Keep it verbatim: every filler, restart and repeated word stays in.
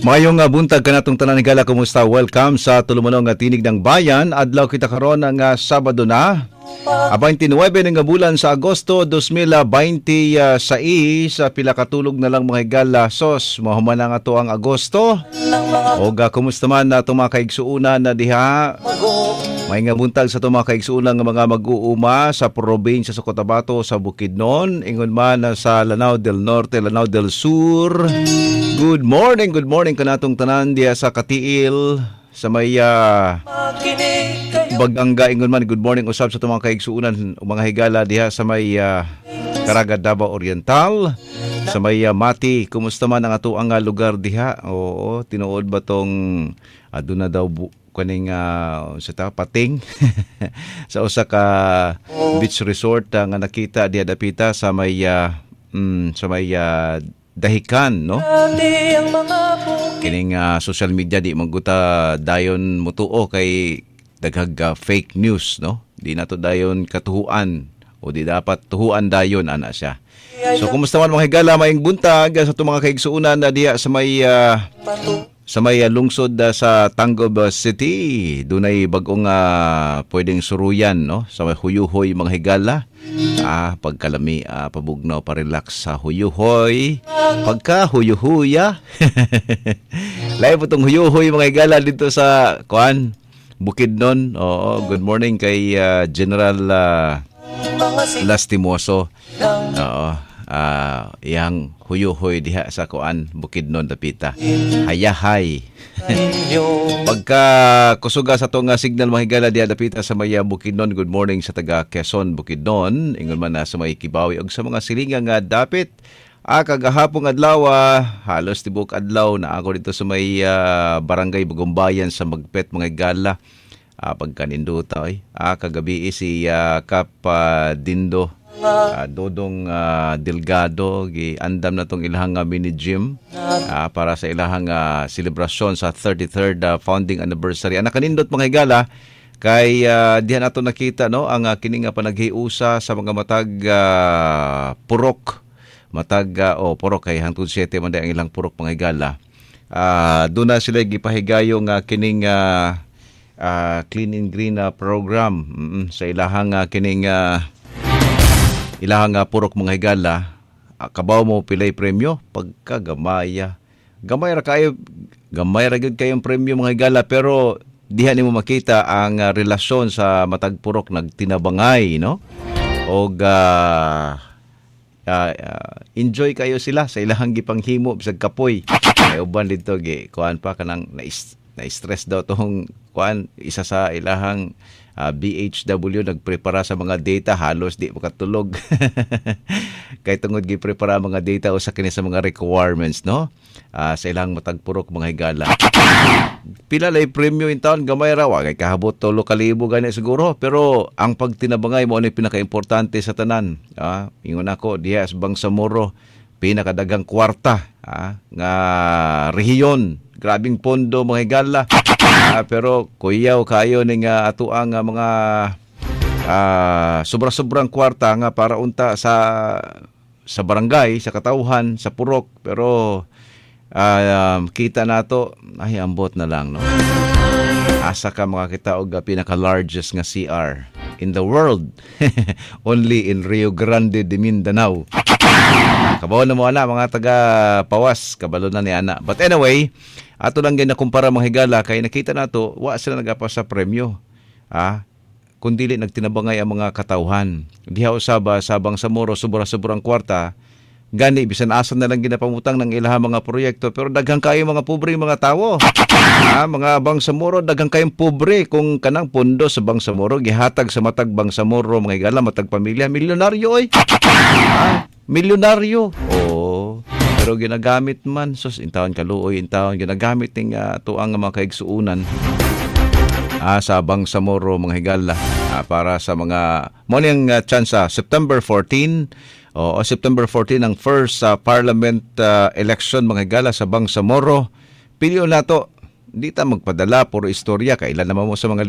Mayong uh, buntag kanatong tanan, higala, kumusta? Welcome sa tulumanon nga Tinig ng Bayan. Adlaw kita karon nga uh, Sabado na. A twenty-nine nga bulan sa Agosto twenty twenty-six, sa pila katulog na lang, mga higala, sos mahuman na nga to ang Agosto. Og uh, kumusta man na itong mga kaigsuunan na diha? May nga buntag sa itong mga kaigsuunan nga mga mag-uuma sa probinsya sa Cotabato, sa Bukidnon, ingon man na sa Lanao del Norte, Lanao del Sur. Good morning, good morning kanatong tanan diha sa Cateel, sa may uh, Baganga, ingon man good morning usab sa itong mga kaigsuunan o mga higala diha sa may uh, Caraga, Davao Oriental, sa may uh, Mati. Kumusta man ang ato ang uh, lugar diha? Oo, tinuod ba tong aduna daw bu- kaning uh, sa ta pating sa usa ka beach resort uh, nga nakita diha dapita sa may uh, mm, sa may uh, Dahican, no? Kining uh, social media, di magguta dayon mutuo kay daghag uh, fake news, no? Di nato dayon katuhuan o di dapat tuhuan dayon ana siya. So kumusta man, mga higala? Maayong buntag sa atong mga kaigsuonan na diha sa may uh, sa may uh, lungsod uh, sa Tangub City. Dunay bag-ong uh, pwedeng suruyan, no, sa may Huyuhoy, mga higala. Ah, pagkalami, ah, pabugnaw, pa-relax sa Huyuhoy. Pagka huyuhuya. Lahi po tong Huyuhoy, mga higala, dito sa kuan, Bukidnon. Oo, good morning kay uh, General uh, Lastimoso. Oo. Ah, iyang huyuhoy diha sa kuan, Bukidnon dapita. Hayahay. Pagka kusuga sa atong signal, mga higala, diha dapita sa may Bukidnon. Good morning sa taga Quezon, Bukidnon. Ingon man na sa may Kibawi og sa mga silingan nga dapit. Ah, kagahapong adlaw, ah, halos tibok adlaw na ako dito sa may ah, Barangay Bagumbayan sa Magpet, mga higala. Ah, pagkaninduta oy. Ah, kagabi si ah, Kap ah, Dindo ah, Dodong ah, Delgado, giandam na tong ilahang ah, mini gym ah, para sa ilahang ah, selebrasyon sa thirty-third ah, founding anniversary. Ang nakanindot, mga higala, kay uh, diha nato nakita, no, ang uh, kini nga panaghiusa sa mga matag ah, purok, matag uh, oh, purok, kay hangtod siyete man ang ilang purok, mga higala. Ah, doon na sila gipahigayo nga kining ah, ah, clean and green ah, program mm, sa ilahang ah, kining ah, ilahang uh, purok, mga higala. Ah, kabaw mo pilay premyo? Pagkagamaya, gamay ra kayo, gamay ra gyud kayong premyo, mga higala, pero diha nimo makita ang ah, relasyon sa matag purok, nagtinabangay, no, og ah, ah, ah, enjoy kayo sila sa ilahang gipanghimo bisag kapoy. May uban dito gi kuan pa, kanang na na-stress daw tong kuan, isa sa ilahang ah, B H W, nagprepara sa mga data, halos di makatulog kay tungod giprepara ang mga data usa kini sa mga requirements, no, Ah, sa ilang matag purok, mga higala. Pila lay premyo in town? Gamay ra, wa kay kahabot tulo ka libo gani siguro, pero ang pagtinabangay mo ni pinakaimportante sa tanan. Ah, ingon ako, diha sa Bangsamoro pinakadaghang kwarta ah, nga rehiyon. Grabing pondo, mga higala. Ah, pero kuyaw kayo ning uh, atuang nga mga ah, sobra-sobrang kwarta nga para unta sa sa barangay, sa katawhan, sa purok, pero ah, um, kita nato ay ambot na lang, no. Asa ka makakita og ah, pinaka-largest nga C R in the world? Only in Rio Grande de Mindanao. Kabaw na mo ana, mga taga Pawas, kabalo na ni ana. But anyway, ato lang ginakumpara, mga higala, kay nakita nato wa sila nagapa sa premyo. Ah, kung dili nagtinabangay ang mga katawhan. Diha usaba sa Bangsamoro, sobra-sobrang kwarta, gani bisan asa na lang ginapamutang ng ilahang mga proyekto, pero daghan kayo mga pobre mga tawo. Ah, mga Bangsamoro, daghan kayong pobre. Kung kanang pondo sa Bangsamoro gihatag sa matag Bangsamoro, mga higala, matag pamilya, milyonaryo oy. Ah, milyonaryo. Oh, pero ginagamit man, sus, intawon kaluoy intawon, ginagamit ning uh, tuang mga kaigsuunan ah, sa Bangsamoro, mga higala, ah, para sa mga mo ning uh, chance ah, September fourteen, o September fourteen ang first uh, parliament uh, election, mga higala, sa Bangsamoro. Pilion nato, di ta magpadala puro istorya kailan naman mo sa mga